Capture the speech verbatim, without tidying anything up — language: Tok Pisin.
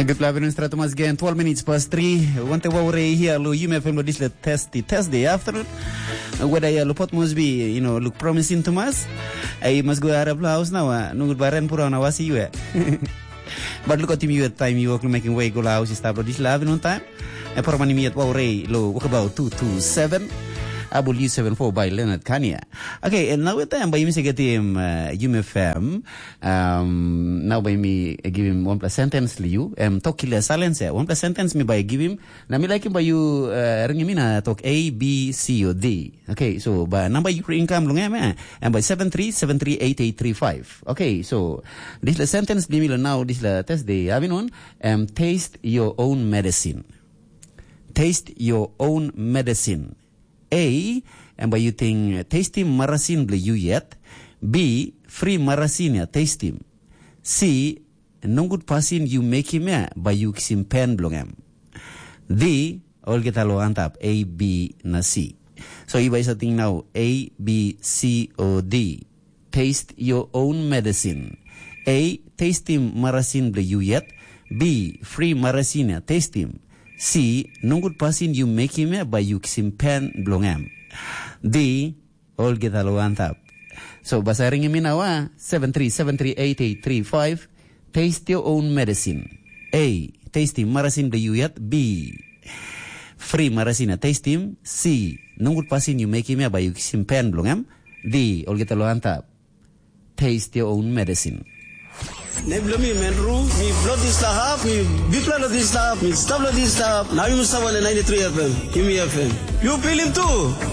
Good afternoon, Stratomas again. Twelve minutes past three. Wante wa ure hia lo yume fem lo disle testi, Thursday afternoon. Whether ya lo pot must be, you know, look promising to mas. I must go out of house now. Uh, no good baren pura na wasi you. But look at him, you at time you work making way go house stop lo disle afternoon time. E por mani mi at wa ure lo walk about two two seven. Abul U seven four by Leonard Kania. Okay, and now with time by mi se get him uh, yume fem. Um, nau bai mi givim wanpela sentence li yu, em tok kila silence ya. Wanpela sentence mi bai givim, na mi laikim bai yu uh, ringim mi na tok A, B, C o D. Okay, so ba namba yu income long em eh, em bai seven three seven three eight eight three five. Okay, so this la sentence di mi lo now this la test di avinon, em taste your own medicine. Taste your own medicine. A, em bai yu ting testim marasin bilong yu yet. B, fri marasin ya testim. C, nogut pasin yu mekim ya bai yu kisim pen bilong em. D, olgeta lo antap A, B na C. So yu bai sating nau A, B, C o D. Taste your own medicine. A, testim marasin bilong yu yet. B, fri marasin ya testim. C, nogut pasin yu mekim ya bai yu kisim pen bilong em. D, olgeta lo antap. So basa ringim mi nawa seven three seven three eight eight three five. Taste your own medicine. A, testim marasin bilong yu yet. B, fri marasin ya testim. C, nogut pasin yu mekim ya bai yu kisim pen bilong em. D, olgeta lo antap. Taste your own medicine. Nem bilong mi Menru, mi bilong dispela hap, mi bikpela long dispela hap, mi stap long dispela hap, na yumi stap long ninety three F M, yumi F M. Yu pilim tu?